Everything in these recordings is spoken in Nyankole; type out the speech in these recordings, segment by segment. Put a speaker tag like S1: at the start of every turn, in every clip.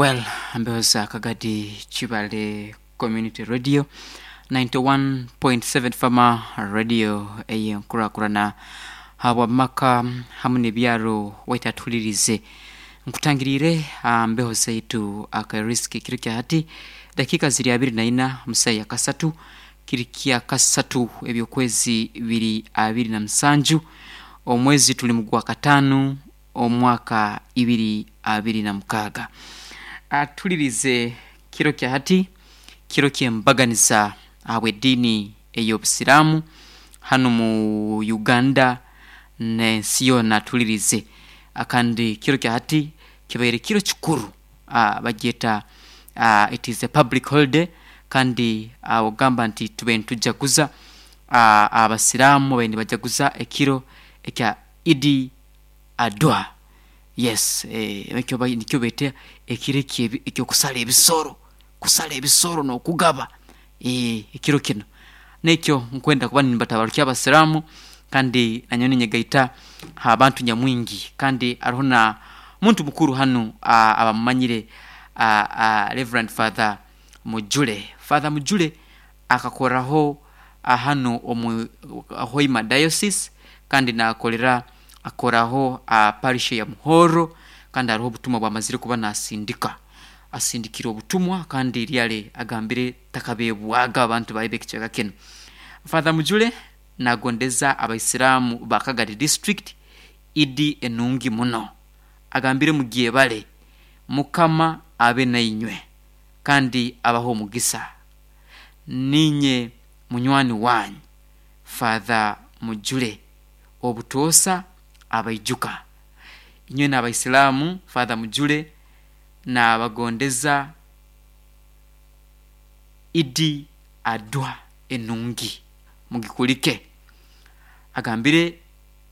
S1: Well, mbeho za Kagadi Kibale Community Radio 91.7 Fama Radio ey'enkurakurana habw'amaka hamu n'ebyaro waitu atuhuliriize. Nkutangiriire aha mbeho zaitu aka risk kiro kya hati dakiika ziri 24 mu saaha ya kasatu kiri kya kasatu eby'okwezi biri 27 omwezi tuli mu gwa kataano omwaka 2026. Atulirize kiro kya hati kiro ky'embaganiza ahabw'ediini ey'obusiraamu hanu mu Uganda n'ensi yoona atulirize kandi kiro kya hati kibaire kiro kikuru bagyeta it is a public holiday kandi ogamba nti tubaire nitujaguza abasiraamu babaire nibajaguza ekiro ekya Idi Adwa yes ekyo nikyo beeta ekiro eky'okusara ebisoro, kusara ebisoro n'okugaba ekiro kinu. N'ekyo nkwenda kuba nimbatabarukya abasiraamu kandi nanyowe ninyegaita ha bantu nyamwingi kandi hariho na muntu mukuru hanu abamumanyire Rev Father Mujule. Father Mujule akakoraho hanu omu Hoima Diocese kandi nakorera akoraho aha parish ya Muhoro kandi hariho obutumwa obwamazire kuba nasindika. Asindikire obutumwa kandi really agambire takabebwaga abantu baye b'ekicweka kinu. Father Mujule nagondeza abaisiramu ba Kagadi district Idi enungi muno. Agambire mugyebare, Mukama abe nainywe kandi abahe omugisa. Niinye munywani waanyu Father Mujule obutoosa abaijuka. Inywena Abaisilamu Father Mujule naabagondeza Idi Adwa enungi mugikulike. Agambire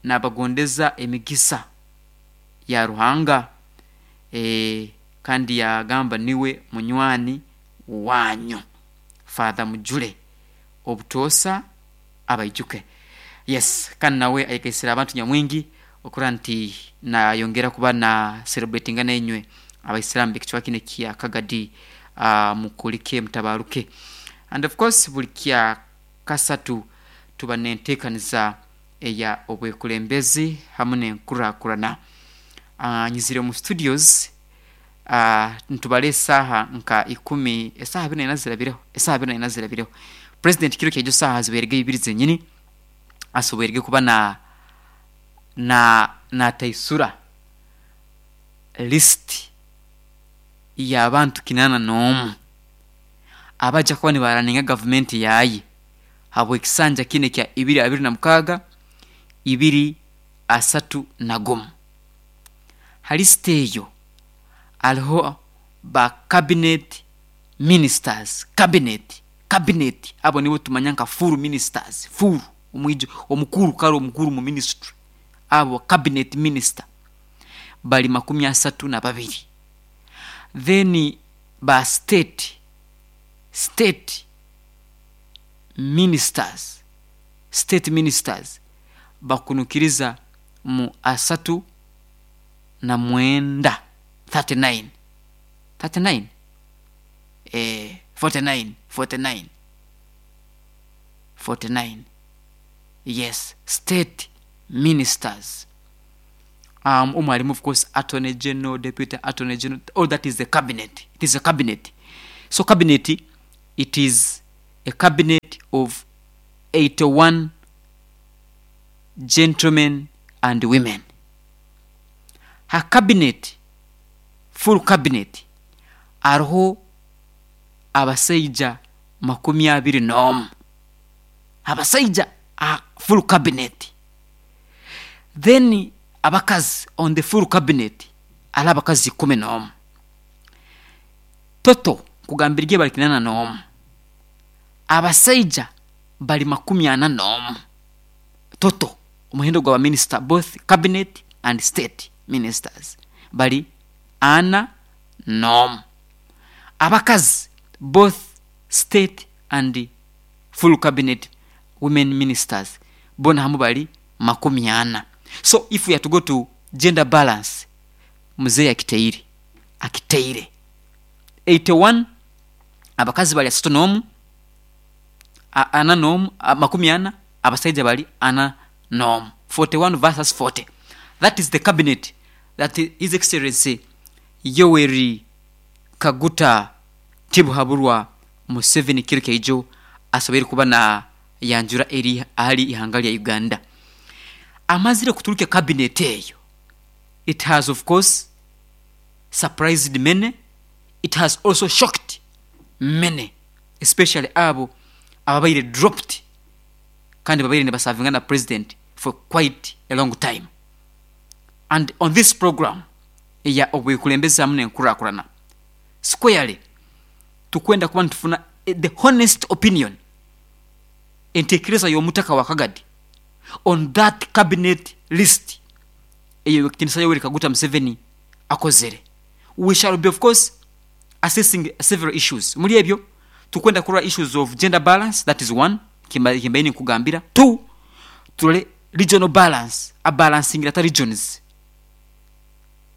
S1: naabagondeza emigisa ya Ruhanga kandi yaagamba niwe munywani waanyu Father Mujule obutoosa abaijuke. Yes kandi nawe ayegaisire abantu nyamwingi okurora nti nayongera kuba na celebratinga nainywe abaisiramu bekicweka kinu ekya Kagadi mukulike mutabaruke. And of course buri kya kasatu tuba nentekaniza eya obwekulembezi hamu nenkurakurana. Nyizire omu studios nitubara esaaha nka ikumi, esaaha 24 zirabireho, esaaha 24 zirabireho. President kiro kyaijo saaha zibairege ibiri zenyini asoboirege kuba na na nataisura list y'abantu 81 abaja kuba nibaraninga gavumenti yaaye habw'ekisanja kinu ekya 2026, 2031. Ha list eyo hariho ba cabinet ministers, cabinet, cabinet abo nibo tumanya nka full ministers, full omwijo omukuru kare omukuru mu ministry abo cabinet minister bari 32. Then ba state, state ministers, state ministers bakunukiriza mu 39, 39, 39? Eeh 49, 49, 49, yes state ministers. Omwo harimu of course attorney general, deputy attorney general, all that is the cabinet, it is a cabinet. So cabinet it is a cabinet of 81 gentlemen and women. Ha cabinet, full cabinet, hariho abasaija 21, abasaija aha full cabinet. Then abakazi on the full cabinet hariho abakazi 11. Total nkugambire gye bari 81. Abasaija bari 41 total omuhendo gwa baminisita both cabinet and state ministers bari 41. Abakazi both state and full cabinet women ministers boona hamwe bari 40. So if we are to go to gender balance, Muzei akiteire, akiteire. 81 abakazi bari asatu n'omu, ana n'omu, 40, abasaija bari ana n'omu. 41 versus 40. That is the cabinet that His Excellency Yoweri Kaguta Tibuhaburwa Museveni kiro kyaijo asoboire kuba nayanjura eri ahari ihanga rya Uganda. Amazire kuturukya cabinet eyo, it has of course surprised many, it has also shocked many especially abo ababaire dropped kandi babaire nibasavinga na president for quite a long time. And on this program eya obwekulembeze hamu nenkurakurana squarely tukwenda kuba nitufuna the honest opinion, entekereza yomutaka wa Kagadi on that cabinet list eyo Owekitinisa Yoweri Kaguta Museveni akozere. We shall be of course assessing several issues. Omuri ebyo tukwenda kurora issues of gender balance that is one kimbaire ninkugambira, two turore regional balance, abalansingire ata regions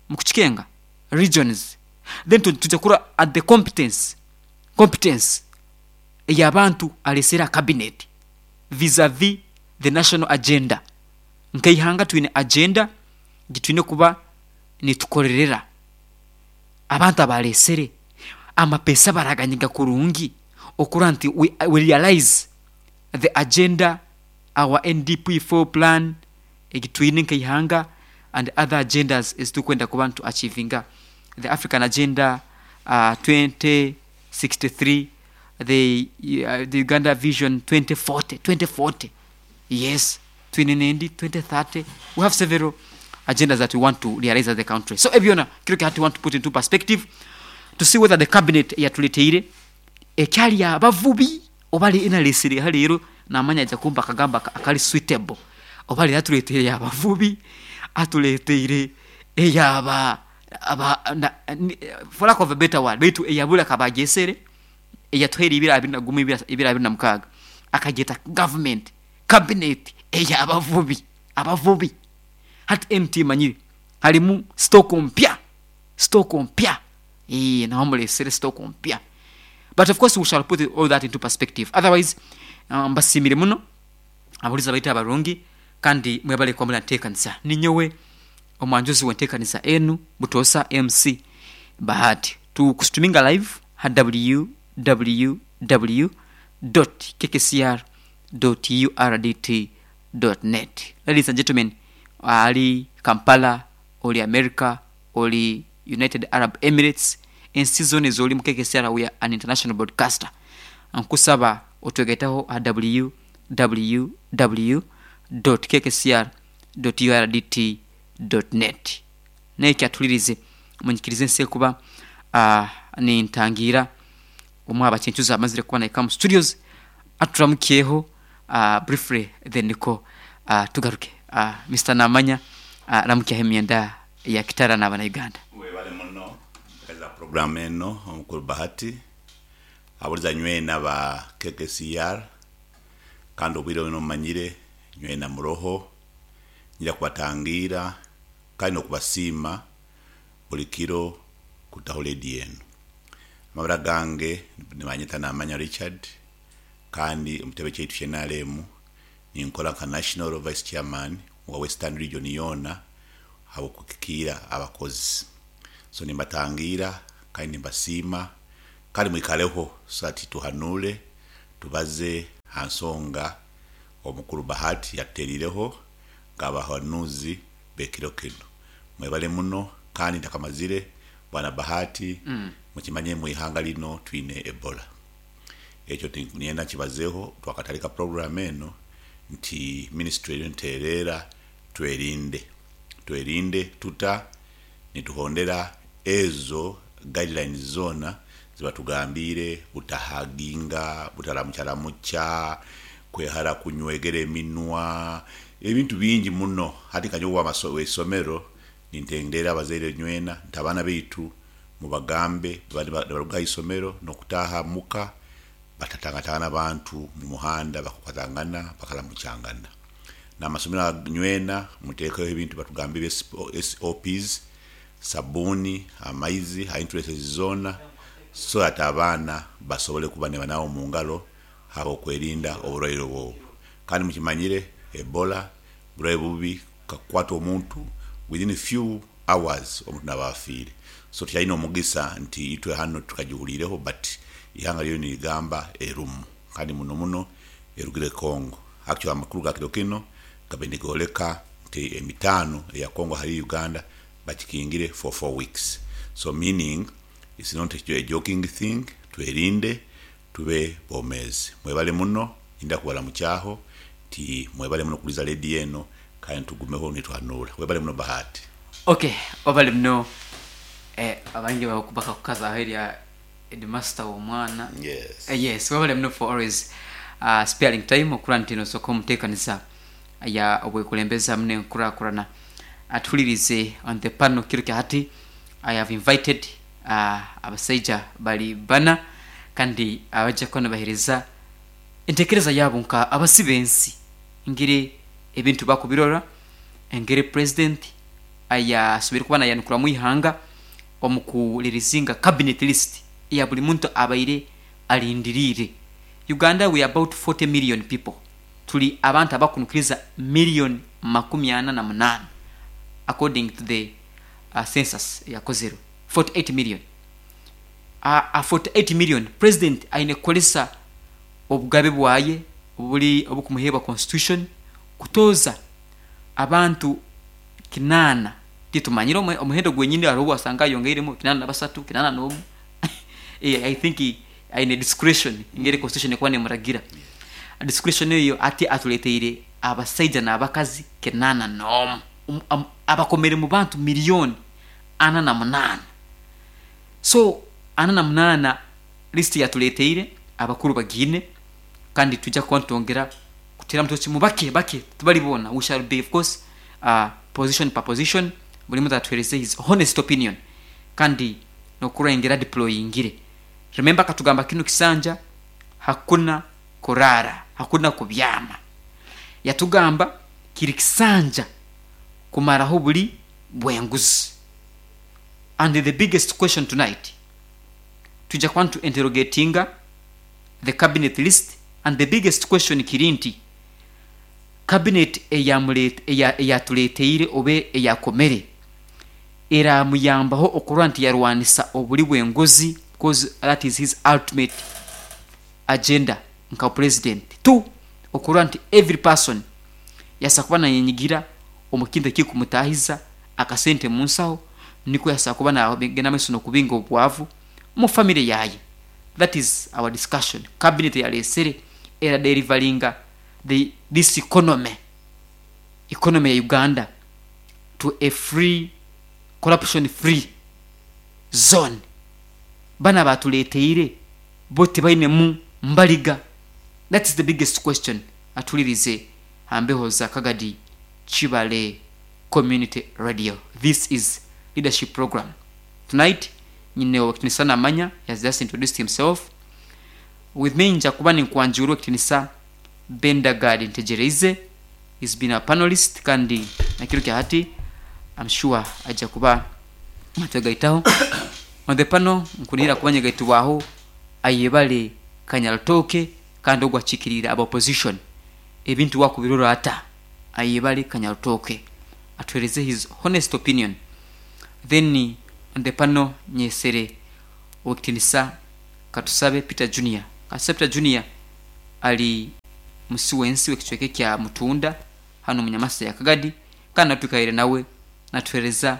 S1: mukukikenga regions then twija kurora at the competence, competence eyabantu aresire aha cabinet vis a vis the national agenda. Nkeihanga twine agenda gitwine kuba nitukorerera. Abantu abaresere amapesa baraganyiga kurungi okurora nti we realize the agenda our NDP four plan egi twine nkeihanga and other agendas eziturikwenda kuba nitu achievinga the African agenda 2063 the Uganda vision 2040, 2040 yes twine nendi 2030 we have several agendas that we want to realize as a country so ebyo byona kiro kya hati we want to put into perspective to see whether the cabinet eyatureteire ekyari yabavubi oba enaresire aha reero namanya aija kumpa akagambo akari suitable oba reero atureteire eyabavubi atureteire eyaba for lack of a better word beitu eyaburi akaba agyesere eyatuhaire ibiri abiri na gumwe ibiri abiri na mukaaga akagyeta government cabinet eyabavubi abavubi hati enu timanyire harimu stock mpya stock mpya eeh naho muresire stock mpya but of course we shall put all that into perspective otherwise mbasiimire muno abahuriza baitu abarungi kandi mwebale kuba muri aha nteekanisa ninyowe omwanjuzi w'enteekanisa enu butoosa MC Bahati tukustuminga live ha www dot kkcr dot urdt dot net Ladies and gentlemen ali Kampala, ori America, ori United Arab Emirates, ensi zoona ezorimu KKCR we are an international broadcaster. Nkusaba otwegaiteho aha www dot kkcr dot urdt dot net. N'ekyo atuhuririze munyikirize nse kuba nintangiira omwe aha bacencuzi abamazire kuba nahika omu studios aturamukyeho briefly then nikwo tugaruke. Mister Namanya ramukyaho emyenda ya Kitara n'abana Uganda.
S2: Webale muno kuheereza puroguraamu eno omukuru Bahati. Aburiza nywena aba KKCR kandi obwire bwona mumanyire nywena muroho. Nyija kubatangiira kandi n'okubasiima buri kiro kutaho rediyo enu. Amabara gange nibanyeta Namanya Richard kandi omu kitebe kyaitu kya NRM ninkora nka National Vice Chairman owa Western Region yoona ahabw'okukikiira abakozi. So nimbatangiira kandi nimbasiima kandi mwikareho so that tuhanuure tubaze aha nsonga omukuru Bahati yatutereireho nk'abahanuuzi b'ekiro kinu. Mwebale muno kandi ntakamazire Bwana Bahati mukimanye mu ihanga lino twine Ebola. Ekyo niinyenda nkibazeho twakatandika puroguramu eno nti minisitule eriyo netutereera twerinde. Twerinde tuta? Nituhondera ezo guidelines zoona zibatugambiire butahaginga, butaramukyaramucha, kwehara kunywegera eminwa, ebintu bingi muno. Hati nka nyowe ow'eisomero nintendeera abazaire nywena nti abaana baitu mubagambe nibaruga aha isomero n'okutaaha muka batatangatangana abantu omu muhanda bakakwatangana bakaramukyangana. N'amasomero aga nywena muteekeho ebintu batugambiire SOPs, sabuuni, amaizi, ha entrances zoona. So that abaana basobole kuba nibanaaba omu ngaro ahabw'okwerinda oburwaire obu. Kandi mukimanyire Ebola burwaire bubi kakukwata omuntu within few hours omuntu naba afiire. So tukyaine omugisa nti itwe hanu tukagihuliireho but ihanga ryoona nirigamba erumu kandi muno muno erugire Congo. Actually amakuru ga kiro kinu gabaire nigoreka nti emitaano eya Congo hariya Uganda bakikingire for 4 weeks. So meaning it's not a joking thing, twerinde tube bomeezi. Mwebale muno, ninda kubaramukyaho nti mwebale muno kuhuriza rediyo eno kandi tugumeho nituhanuura. Webale muno Bahati.
S1: Ok wabale muno abaingi bakakukazaho erya headmaster womwana.
S2: Yes.
S1: Yes wabale muno for always sparing time okura nti nosoka omutekanisa ya obwekulembeze hamu nenkurakurana. Atuhuririze on the panel kiro kya hati I have invited abasaija bari bana kandi abaija kuba nibahereza entekereza yaabo nka abasi b'ensi engeri ebintu bakubirora, engeri president ayasoboire kuba nayanukuramu eihanga omu ku releasinga cabinet list eya buri muntu abaire arindiriire. Uganda we are about 40 million people, turi abantu abakunukiriza million 48 according to the census eyakozirwe, 48 million. Aha 48 million, president aine kukoresa obugabe bwaye oburi obukumuheebwa constitution kutooza abantu kinaana, titumanyire omuhendo gwenyini hariho obu wasanga ayongeiremu 83, 81, I think aine discretion engeri constitution ekuba nemuragira. Discretion eyo hati atureteire abasaija n'abakazi 81 abakomire mu bantu million 48. So 48 list eyatureteire abakuru bagiine kandi nitwija kuba nitwongera kuteeramu tochi mu bakye bakye tibari boona, we shall be of course position per position buri muntu atuheereze his honest opinion kandi n'okurora engeri adeployingire. Remember akatugamba kinu kisanja hakuna kuraara, hakuna kubyama. Yatugamba kiri kisanja kumaraho oburi bw'enguzi. And the biggest question tonight, twija kuba nitu interrogatinga the cabinet list and the biggest question kiri nti, cabinet eyatureteire oba eyakomere eramuyambaho okurora nti yarwanisa oburi bw'enguzi coz that is his ultimate agenda nka president. Two, okurora nti every person yaasa kuba nayenyigira omu kintu ekirikumutaahiza akasente omu nsaho nikwo yaasa kuba nagenda mumaiso nokubinga obwavu omu family yaaye. That is our discussion. Cabinet eyaresire era delivaringa the this economy, economy ya Uganda to a free, corruption free zone. Banu abatureteire bo tibainemu mbariga? That is the biggest question atuhuririze aha mbeho za Kagadi Kibale Community Radio. This is Leadership Program. Tonight nyine ow'ekitinisa namanya, he has just introduced himself. With me nja kuba ninkwanjura ow'ekitinisa Bendagard Ntegyereize, he's been our panelist kandi na kiro kya hati I'm sure aija kuba natwegaitaho. On the panel nkunihira kuba nyegaitibwaho Ayebare Kanyarutooke kandi ogu akiikiriire aba opposition. Ebintu wakubirora ata? Ayebare Kanyarutooke atuhereze his honest opinion. Then on the panel nyesere Owekitinisa Katusabe Peter Junior. Katusabe Peter Junior ari musi w'ensi w'ekicweka ekya Mutunda hanu omu Nyamasa ya Kagadi kandi nawe twikaire nawe natuhereza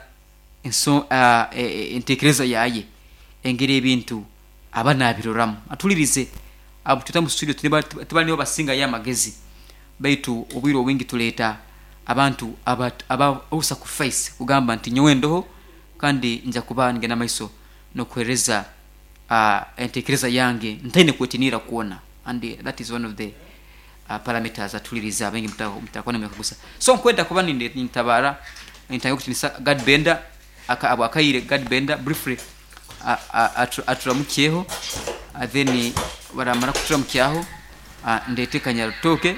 S1: entekereza yaye engeri ebintu aba nabiroramu. Atuhuririze abu tweta omu studio tibari nibo basingayo amagezi baitu obwire obwingi tureeta abantu aba sacrifice kugamba nti nyowe ndoho kandi nja kuba nigenda mumaiso n'okuhereza entekereza yange ntaine kwetiniira kwona and that is one of the parameters atuhuririze abaingi mutakuba nimwekaguza. So nkwenda kuba nintabaara nintandika kutinisa Gad Benda abwakaire Gad Benda briefly aturamukyeho then baramara kuturamukyaho ndeete Kanyarutooke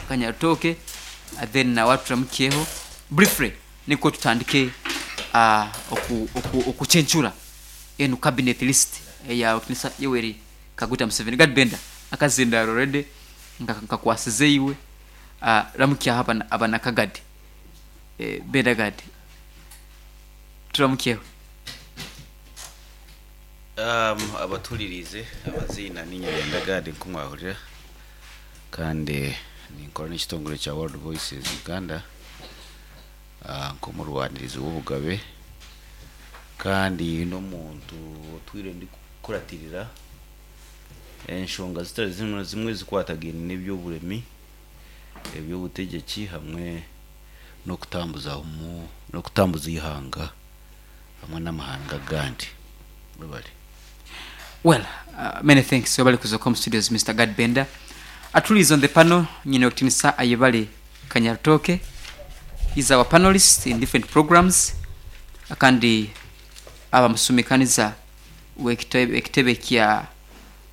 S1: Kanyarutooke then nawe aturamukyeho briefly nikwo tutandike okucencura. Enu cabinet list eya Owekitinisa Yoweri Kaguta Museveni. Gad Benda akazindaaro already nkakwasize iwe. Ramukyaho abanakagadi. Benda Gad turamukyeho.
S3: Abatuhuririize amaziina niinye Benda Gad nk'oku mwahurira kandi ninkora n'ekitongore kya World Voices Uganda nk'omurwanirizi w'obugabe kandi n'omuntu otwire ndikukuratirira enshonga zitari zimwe na zimwe ezikwatagaine n'eby'oburemi, eby'obutegyeki hamwe n'okutambuza n'okutambuza eihanga hamwe n'amahanga agandi. Mwebare.
S1: Well, many thanks webale kuza omu studios Mister Gad Benda. Atuli is on the panel nyine okitinisa Ayebare Kanyarutooke is our panelist in different programs kandi aba musumikaniza w'ekitebe kya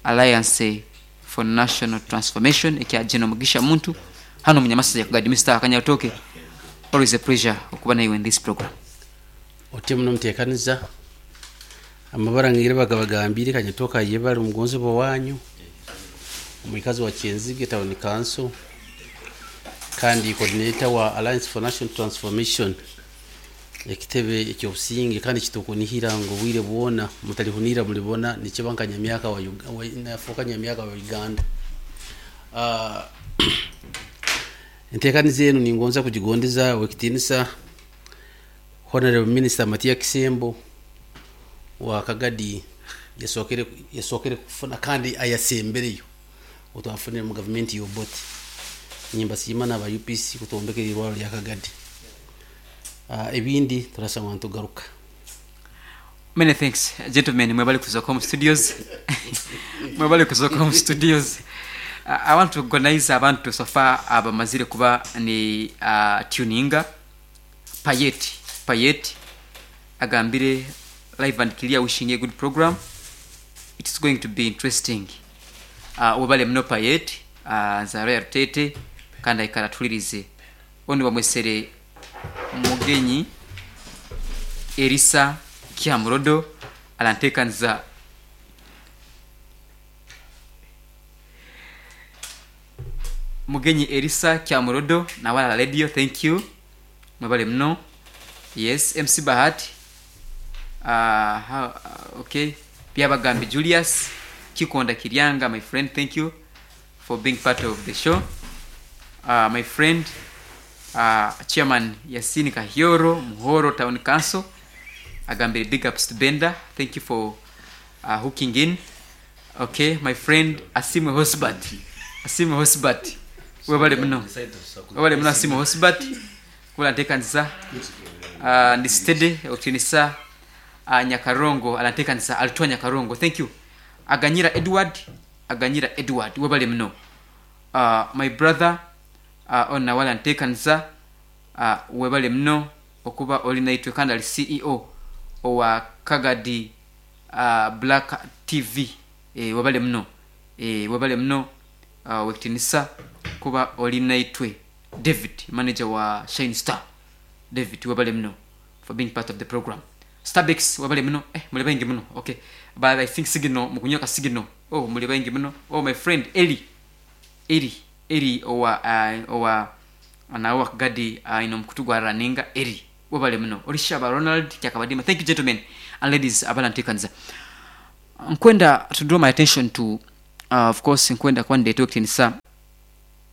S1: Alliance for National Transformation ekya General Mugisha Muntu hanu omu Nyamasaza Gad Mister Kanyarutooke always a pleasure okuba naiwe in this program.
S4: Otyo muno omuteekaniza. Amabara ngaire bagabagambiire Kanyatooke Ayebare omugonzibwa wanyu, omwikazi wa Kyenzige Town Council kandi coordinator wa Alliance for National Transformation ekitebe eky'obusinge kandi ekitukunihira ngu obwire bwona mutalihunirra mulibona nikiba nka nyamyaka wa nafuuka nyamyaka wa Uganda. Enteekaniza enu ningonza kugigondeza ow'ekitiinisa Honourable Minister Matia Kisembo wa Kagadi yasookere yasookere kufuna kandi ayasembereyo otwafunire mu gavumenti ya Obote. Nimbasiima n'aba UPC kutwombekera eirwariro rya Kagadi. Ebindi turashangwa nitugaruka.
S1: Many thanks gentlemen mwebale kuza omu studios mwebale kuza omu studios I want to recognize abantu so far abamazire kuba ni tuninga Payet Payet agambire live and clear wishing a good program it's going to be interesting webale muno Payet nzarwa ya Rutete kandi aikara atulirize onu bamwesere Mugenyi Erisa Kyamurodo arantekaniza Mugenyi Erisa Kyamurodo nawe ara radio thank you mwebale muno yes MC Bahati uh, okay Byabagambi Julius Kikonda Kiryanga my friend thank you for being part of the show my friend Chairman Yasini Kahyoro Muhoro Town Council agambire big ups to Benda thank you for hooking in okay my friend Asimwe Hosbert Asimwe Hosbert webale muno webale muno Asimwe Hosbert kula ntekanisa ndi steady okitinisa Nyakarongo alantekanisa alitwa Nyakarongo thank you Aganyira Edward Aganyira Edward webale muno my brother onu nawe aranteekanisa webale muno okuba ori naitwe kandi ari CEO owa Kagadi Black TV webale muno webale muno Owekitinisa kuba ori naitwe David manager wa Shine Star David webale muno for being part of the program Starbex webale muno eh muri baingi muno okay but I think signal mukunywa ka signal oh muri baingi muno oh my friend Eli Eli Eli owa owa nawe wa Kagadi aine omukutu gwa Raninga Eli webale muno Orishaba Ronald Kyakabadima thank you gentlemen and ladies abarantekaniza Nkwenda to draw my attention to of course nkwenda kuba nindeeta ow'ekitiinisa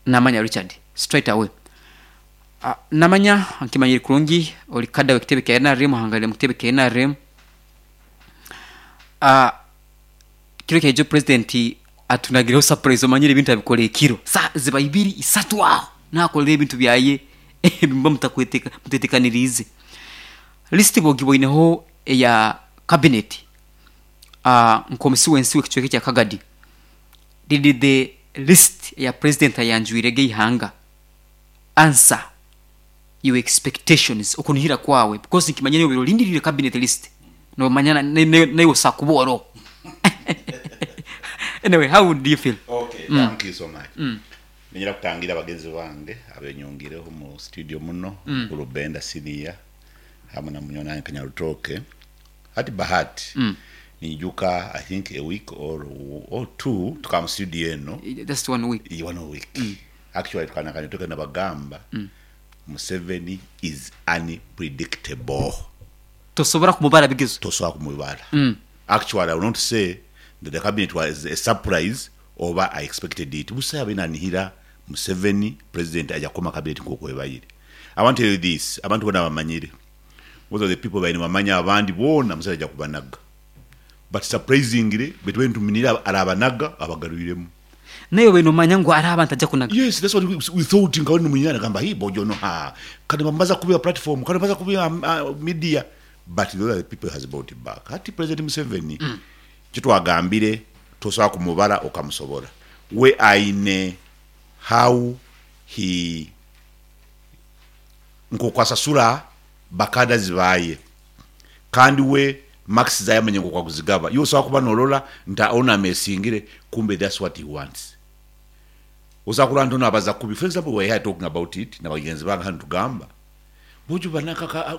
S1: Namanya Richard straight away. Namanya nkimanyire kurungi ori kada w'ekitebe kya nrm ohangarire omu kitebe kya nrm. Kiro kyaija president atunagireho surprise omanyire ebintu abikora ekiro saaha ziba ibiri isatu aho nakorera ebintu byaye ebimuba mutetekaniriize. List bogiboineho eya cabinet nk'omusi w'ensi w'ekicweka ekya Kagadi did the list eya president ayanjwire g'eihanga answer your expectations okunihira kwawe because nikimanya naiwe obaire orindiriire cabinet list nomanya naiwe osobola kuba oroho anyway how do you feel?
S2: Okay, thank you so much. Niinyenda kutangira bagenzi bange abenyongireho omu studio muno, Mukuru Benda Senior hamwe na munywani wange Kanyarutooke. Hati Bahati, Ninyijuka I think a week or or two tukaba mu studio eno.
S1: Just one week.
S2: One week. Actually tukaba nituka nabagamba Museveni is unpredictable.
S1: Tosobora kumubara bigezo.
S2: Tosobola kumubara. Actually I will not say that the cabinet was a surprise oba I expected it. Busa yabaire nanihira Museveni president aja kukoma cabinet nkoku ebaire. I want to tell you this, abantu bona bamanyire. Most of the people babaire nibamanya abandi boona Museveni aja kubanaga. But surprisingly betubaire nituminira arabanaga abagarwiremu.
S1: Naiwe obaire nomanya ngu hariho abantu aja kunaga.
S2: Yes, that's what we thought nka nimunyina nagamba hii bojo no ha kati bambaza kubi platform kati bambaza kubi media but those are the people has brought back. Hati President Museveni kitwagambire tosobola kumubara okamusobora we aine how he nkoku asasura bakadazi baye kandi we marks zaye amanye nkoku akuzigaba. Iwe osobola kuba nolora nti ono amesingire kumbe that's what he wants. Osobola kurora nti ono abaza kubi. For example, we were here talking about it na bagenzi bange hanu nitugamba bojo bana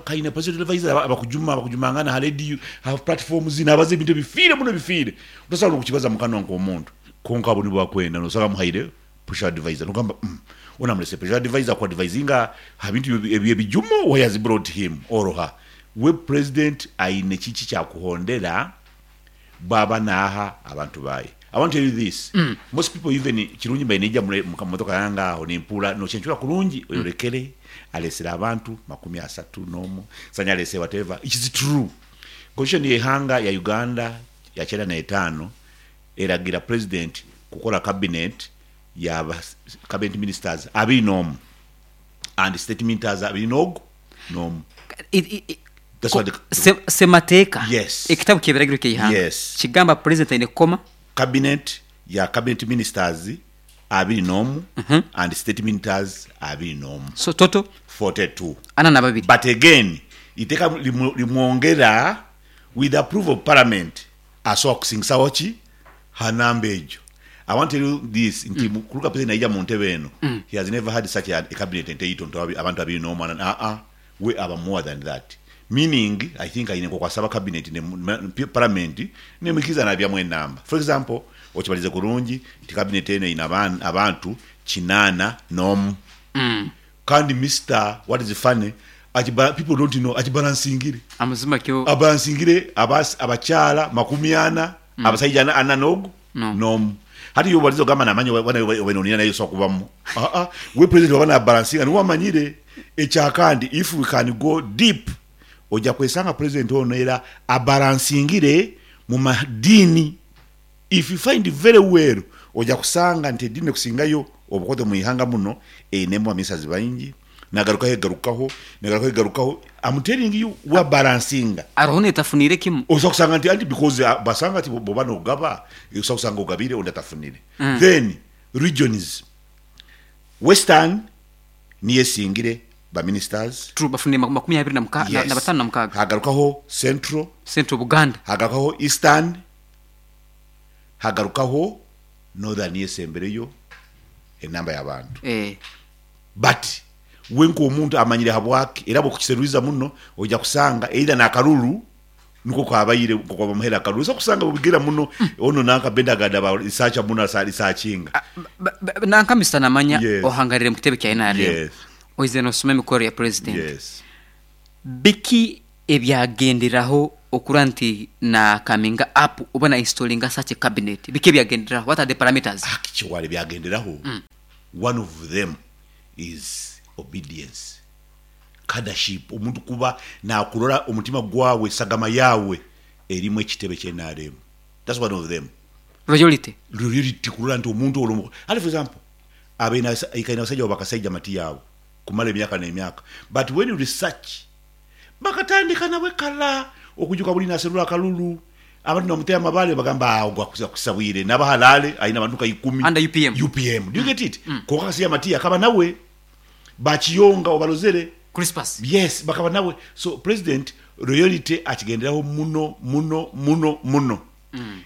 S2: kaine president advisor abakujuma abakujumangana ha radio ha platforms nabaza ebintu ebifiire muno ebifiire. Otasobola nokukibaza mukanwa nkomuntu kwonka abo nibo bakwenda nosanga amuhaire pressure advisor nogamba ono amurese pressure advisor ku advisinga ha bintu ebyebijumo why has brought him or her. We president aine kiki kyakuhondera bwaba naha abantu baye. I want to tell you this, most people even kirungi mbaire naija mumotoka yange aho nimpuura nocencura kurungi oyorekere alesere abantu 31 sanya alese whatever it is true. Constitution yeihanga ya Uganda ya 95 eragira president kukora cabinet ya cabinet ministers 21 and state ministers 21. That's what the,
S1: Semateeka.
S2: Yes.
S1: Ekitabu kyebiragiro kyeihanga.
S2: Yes.
S1: Kigamba president aine kukoma
S2: cabinet ya cabinet ministers 21 and state ministers 21.
S1: So total
S2: 42.
S1: 42.
S2: But again iteeka limwongera with the approval of parliament asobola kusingisaho ki ha namba egyo. I want to tell you this nti kuruga president naija mu ntebe eno he has never had such a cabinet enteito nti abantu 21 aa we aba more than that. Meaning I think aine nkoku asaba cabinet ne parliament nemwikiriza nabyamu enamba. For example okibalize kurungi nti cabinet eno eine abantu 81. Kandi Mister what is funny akiba people don't know akibalansingire.
S1: Amazima kyo.
S2: Abalansingire abakyala 40 abasaija ana nogu nomu. Hati yo balizo gamba namanya wana wenonina nayo so kubamu. We president wabana balansinga niwe amanyire ekyakandi if we can go deep oja kwesanga president ono era abalansingire mu madini. If you find very well oja kusanga nti edini kusingayo obukoto mu ihanga muno enemu amisazi baingi nagarukaho egarukaho nagarukaho egarukaho. I'm telling you we balansinga.
S1: Aroho netafunire kimu.
S2: Oza kusanga nti anti because basanga ati boba nogaba oza kusanga ogabire ondi atafunire. Then regions Western niye singire ba ministers.
S1: True, bafunire 26.
S2: Hagarukaho Central.
S1: Central Buganda.
S2: Hagarukaho Eastern. Hagarukaho Northern niye sembereyo enamba y'abantu. But wenko omuntu amanyire habwaki era bwokukiseruiza muno oja kusanga either nakaruru niko kwabayire kwa bamuhera akaruru so kusanga bubigira muno ono nanka bendagada ba research muno researchinga.
S1: Nanka Mr. Namanya
S2: yes.
S1: Ohangarire mukitebe kya NRM.
S2: Yes.
S1: Oize no soma emikoro ya president.
S2: Yes.
S1: Biki ebyagenderaho okura nti na coming up oba na installing such a cabinet? Biki ebyagenderaho? What are the parameters?
S2: Actually byagenderaho. One of them is obedience, leadership. Omuntu kuba nakurora omutima gwawe sagama yawe erimu ekitebe kye NRM. That's one of them.
S1: Loyalty.
S2: Loyalty kurora nti omuntu olwo. For example, abena ikaina basajja bakasajja mati yawe kumala emyaka n'emyaka. But when you research bakatandika nawe kala okujuka buli naserula kalulu abantu namutera amabale bagamba ogwa kusabwire nabahalale aina abantu ka 10
S1: under UPM.
S2: UPM. Do you get it? Konka kasija mati akaba nawe bakiyonga obalozere
S1: Crispus.
S2: Yes, bakaba nawe. So president loyalty akigenderaho muno muno muno muno.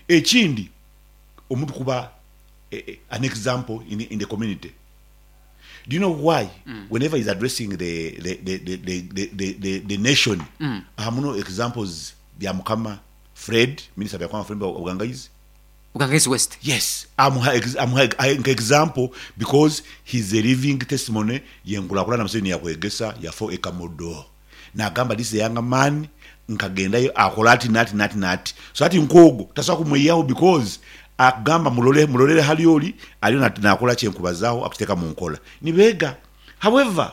S2: Ekindi omuntu kuba an example in the community. Do you know why? Whenever he's addressing the nation, muno examples bya Mukama. Fred, Minisita Byakwanga Fred owa Bugangaizi.
S1: Bugangaizi West.
S2: Yes, amuha amuha nka example because he's a living testimony yenkulakulana Museveni yakwegesa yafa ekamodo nagamba this is a younger man nkagendayo akola ati nati nati nati so ati nkogwo tasobola kumwihaho because akugamba mulole mulolere hali oli aliyo nakola kyenkubazaho akukiteka munkola nibega however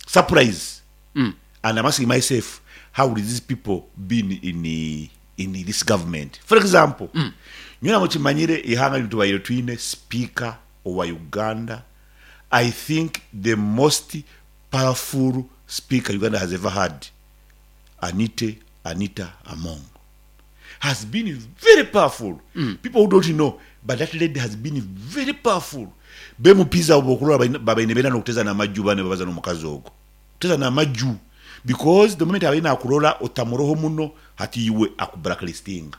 S2: surprise and I'm asking myself how would these people been in in this government for example nyowe mukimanyire eihanga rinu tubaire twine speaker owa Uganda I think the most powerful speaker Uganda has ever had Anite Anita Among has been very powerful people who don't know but that lady has been very powerful bemupizi abo bokurora babaine benda nokuteza namaju bane babaza nomukazi ogwo kuteza namaju because the moment abaire nakurora otamuroho muno hati iwe aku blacklistinga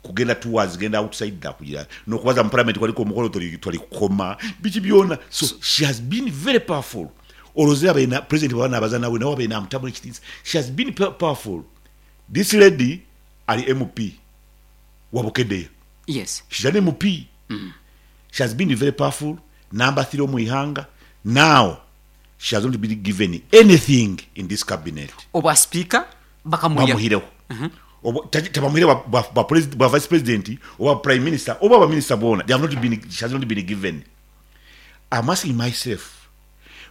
S2: kugenda towards genda outside nakugira nokubaza mu parliament kwaliko omukolo tori kukoma biki byona so she has been very powerful orozire abaire president bwaba nabaza nawe nawe abaire namutamu ekitinisa she has been powerful This lady ali MP wa Bukedea.
S1: Yes.
S2: She's an MP. She has been very powerful, number three omu ihanga. Now she has not been given anything in this cabinet.
S1: Obwa speaker bakamwihaho.
S2: Bamuhireho. Obwa tabamuhire bwa, bwa, bwa, president, bwa vice president oba prime minister oba ba minister boona. They have not been, she has not been given. I'm asking myself,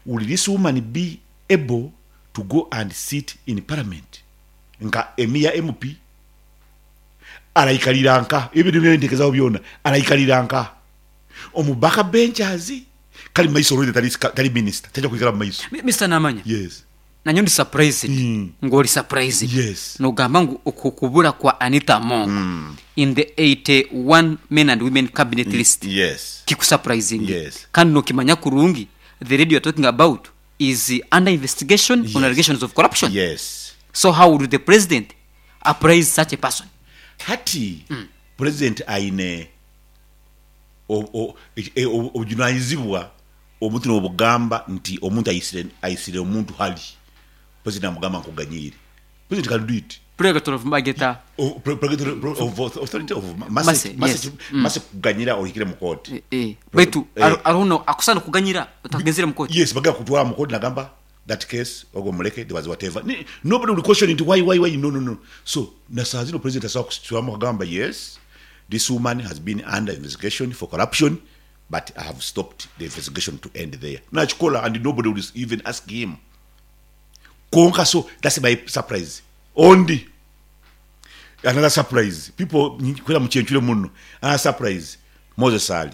S2: will this woman be able to go and sit in parliament nka emiya MP araikarira nka ebintu byentekezaho byona araikarira nka omu back benchers kali mumaiso already tali, tali minister taija kwikara mumaiso.
S1: Mister Namanya,
S2: Yes.
S1: nanye ndi surprised ngu ori surprised
S2: Yes.
S1: nogamba ngu oku kubura kwa Anita Among in the 81 men and women cabinet list
S2: Yes.
S1: kikusapurayizinge
S2: Yes.
S1: kandi nokimanya kurungi the lady you are talking about is under investigation on
S2: Yes.
S1: allegations of corruption.
S2: Yes.
S1: So how would the president appraise such a person?
S2: Hati president aine obujunanizibwa omuntu nobugamba nti omuntu aisire aisire omuntu hali president amugamba nkuganyiire president can do it.
S1: Prerogative of Mageta.
S2: Prerogative of authority of
S1: Mercy,
S2: mercy,
S1: yes.
S2: mercy, mercy kuganyira ohikire mu kooti.
S1: Baitu hariho no akusana kuganyira otagenzire mu kooti.
S2: Yes, bagala kutwara mu kooti nagamba that case ogwo muleke there was whatever. Nobody will question it why why why no no no. So na saa zino president asobola kusitulamu akagamba yes this woman has been under investigation for corruption but I have stopped the investigation to end there. Nakikola and nobody will even ask him. Kwonka so that's my surprise. Ondi another surprise people kwera mukyencure muno another surprise Moses Ali.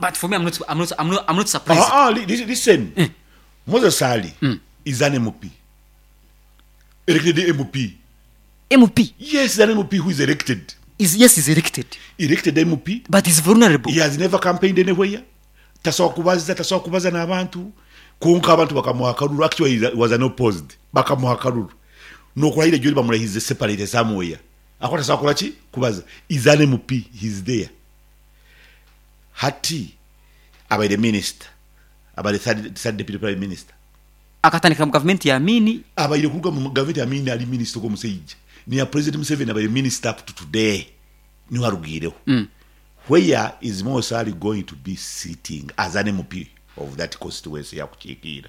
S1: But for me I'm not, I'm not, I'm not, I'm not surprised.
S2: Listen. Moses Ali is an MP. Elected MP.
S1: MP?
S2: Yes, an MP who is elected.
S1: Is, yes, is elected.
S2: Elected MP.
S1: But is vulnerable.
S2: He has never campaigned anywhere. Tasobola kubaza, tasobola kubaza n'abantu. Kwonka abantu bakamuha akaruru. Actually, he was an opposed. Bakamuha akaruru. N'okurahira gyori bamurahize separate somewhere. Aho tasobola kukora ki? Kubaza. Is an MP. He is there. Hati abaire minister. Abaire third deputy prime minister.
S1: Akatandika mu gavumenti ya Amini.
S2: Abaire kuruga mu gavumenti ya Amini ari minister ogwo omusaija. Niya president Museveni abaire minister up to today. Niho arugiireho. Where is Moses Ali going to be sitting as an MP of that constituency yakukiikiira?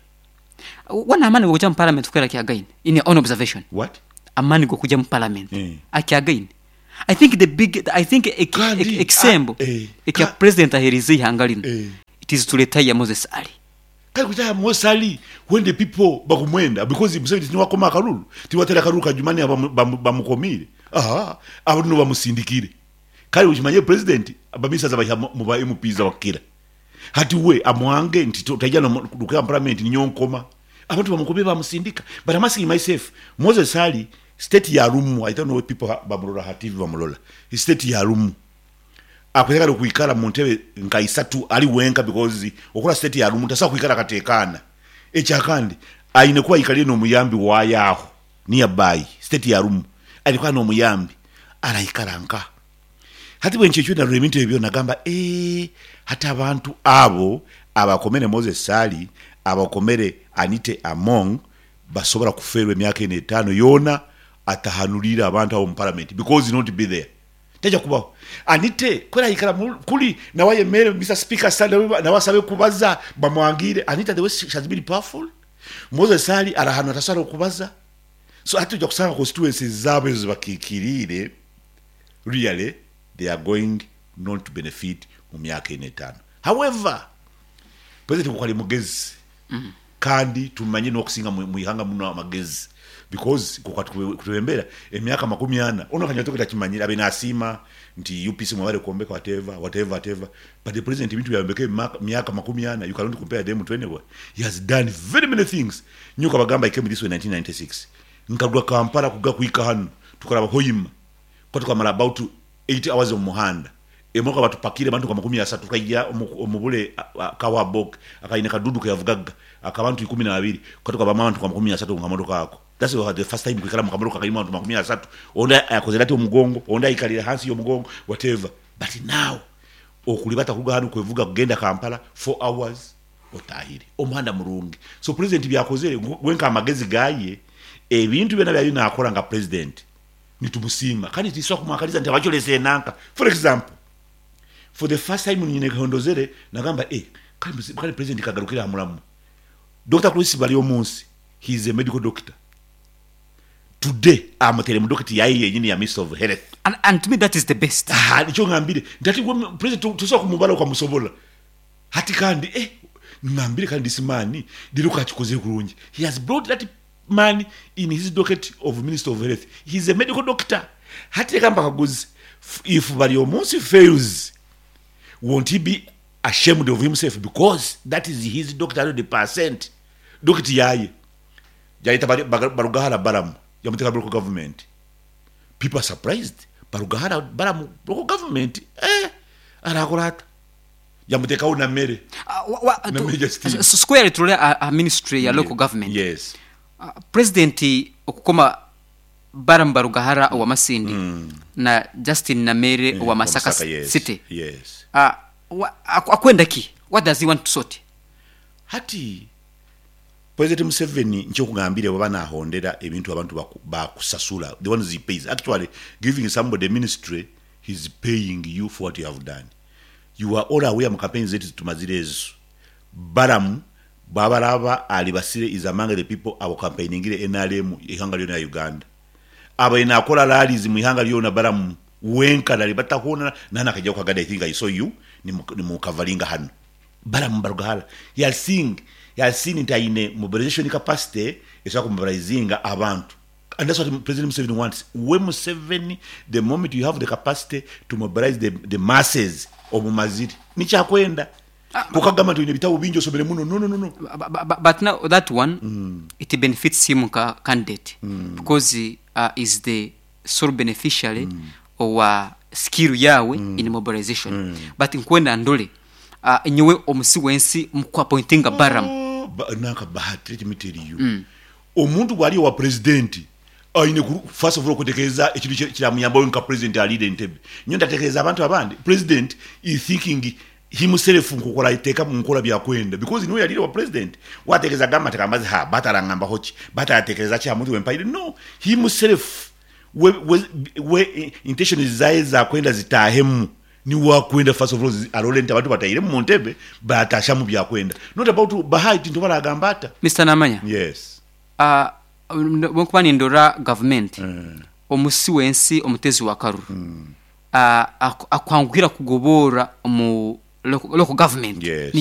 S1: Wana amaani g'okuja mu parliament kuhwera akyagaine in your own observation?
S2: What?
S1: Amaani g'okuja mu parliament
S2: Eh.
S1: akyagaine? I think the big, I think
S2: Kandi,
S1: ekisembo
S2: ah, eh,
S1: ekya
S2: ka-
S1: president aherize eihanga rinu
S2: Eh.
S1: it is to retire Moses Ali.
S2: Kare kutaya Moses Ali when the people bakumwenda because Museveni tiwakoma akaruru tiwatera akaruru kajumani bamukomire aha abo nibo bamusindikire kare ukimanye president abamisas abaha mu ba MPs abakira hati we amwange nti taija no lukya parliament ninyo nkoma abantu bamukomire bamusindika but I'm asking myself Moses Ali state ya rumu I don't know what people bamulola ha TV bamulola state ya rumu akwekala kwikara mu ntebe nka isatu ali wenka because okora state ya rumu tasobola kwikara katekana ekyakandi aine kuba ikalire n'omuyambi wayaho nearby state ya rumu alikuwa n'omuyambi araikara nka hati bwe nkyekyo narora ebintu ebyo nagamba hati abantu abo abakomere Moses Ali abakomere Anite Among basobola kuferwa emyaka eno etaano yoona atahanuriire abantu abo omu parliament because he not be there. Taija kubaho. Anite ku araikara kuri nawe ayemerere Mister Speaker sir nawe asabe kubaza bamwangiire. Anita the way she has been powerful, Moses Ali ari ahantu atasobola kubaza. So hati oija kusanga constituencies zaabo ezo zibakiikiriire really they are going not to benefit mu myaka ena etaano. However, President nkoku ari mugezi kandi tumanye n'okusinga mu ihanga muno amagezi because nkoku atwebembera emyaka 40 onu akanywa toke takimanyire abaire nasiima nti UPC mwebare kwombeka whatever whatever whatever but the president ebintu byayombeka emyaka 40 you cannot compare them to anywhere he has done very many things nyowe nkabagamba I came this way in 1996 nkaruga Kampala kuga kuhika hanu tukaraba Hoima Kuba tukamara about 8 hours omu muhanda, emotoka batupakiire abantu nka 30 tukaija omu bule ka Wabok akaine kadudu keyavugaga akabantu 12 kuba tukabamu abantu nka 30 omu kamotoka ako. That's the first time kwikara mu kamotoka akarimu abantu 30, ondi akozire ati omugongo, ondi aikarire hansi y'omugongo whatever. But now okuribata kuruga hanu kwevuga kugenda Kampala 4 hours otahire. Omuhanda murungi. So president ebyakozire gwe nka amagezi gaye, ebintu byona byariyo nakora nka president Nitumusiima kandi titusobola kumwakaliza nti abakyolesa enanka. For example, for the first time nyine nkahondozere nagamba eh kale president kagarukire aha muramwa. Dokita Chris Baryomunsi he is a medical doctor. Today amuteire mu dokiti yaye yenyini ya minister of health.
S1: And to me that is the best.
S2: Aha nikyo ngambire nti hati gwe president tosobola kumubara okamusobola. Hati kandi eh ngambire kandi this man reero kakikozire kurungi. He has brought that man in his docket of minister of health he is a medical doctor hati leka mbakaguze if Baryomunsi fails won't he be ashamed of himself because that is his doctor 100% docket yaye yayeta Barugahara Balaam yamuteka mu local government people are surprised Barugahara Balaam local government eh arakora ata? Yamuteekaho na mere. Na mere Justine.
S1: Square turole aha ministry ya local government.
S2: Yes.
S1: President okukoma Balaam Barugahara owa Masindi na Justine Nameere owa Masaka City.
S2: Yes.
S1: Akwenda ki? What does he want to sort?
S2: Hati President Museveni nkyokugambire bwaba nahondera ebintu abantu bakusasula the ones he pays actually giving somebody a ministry he's paying you for what you have done. You are all aware mu campaign zetu zitumazire ezo Balaam bwaba araba alibasire is among the people abo campaigningire nrm eihanga ryona rya Uganda. Abaire nakora rallies mwihanga ryona Balaam wenka naribata hona nahanu akaija kukagada I think I saw you nimukavaringa hanu. Balaam Barugahara he has seen he has seen nti aine mobilization capacity esobola kumobilizinga abantu. And that's what President Museveni wants. We Museveni, the moment you have the capacity to mobilize the, the masses, omumazire. Nikyo akwenda. Kwonka kugamba nti oine ebitabo bingi osomere muno, no, no, no, no.
S1: But now that one, it benefits him nka candidate because is the sole beneficiary owa skill yaawe in mobilization. But nkwenda ndore nyowe omusi w'ensi omu ku appointinga Balaam.
S2: Oh, nanka Bahati, let me tell you. Omuntu bwari owa purezidenti aine ku first of all okutekereza ekintu ekiramuyamba we nka purezidenti ariire entebe. Nyowe ndatekereza abantu abandi, purezidenti is thinking himself nkoku arateeka omu nkora byakwenda because niwe yariire owa purezidenti. Watekereza agamba nti kambaze ha Bahati arangambaho ki, Bahati aratekereza ki aha muntu owempaire? No, himself we we we intentions zaye zakwenda zitahemu niwe akwenda first of all arore nti abantu batairemu omu ntebe batashamu byakwenda not about Bahati nti oba aragamba ata.
S1: Mister Namanya,
S2: Yes.
S1: Obu nkuba nindora gavumenti, omusi w'ensi omuteezi w'akaruru akwanguhira kugoboora omu local government.
S2: Yes.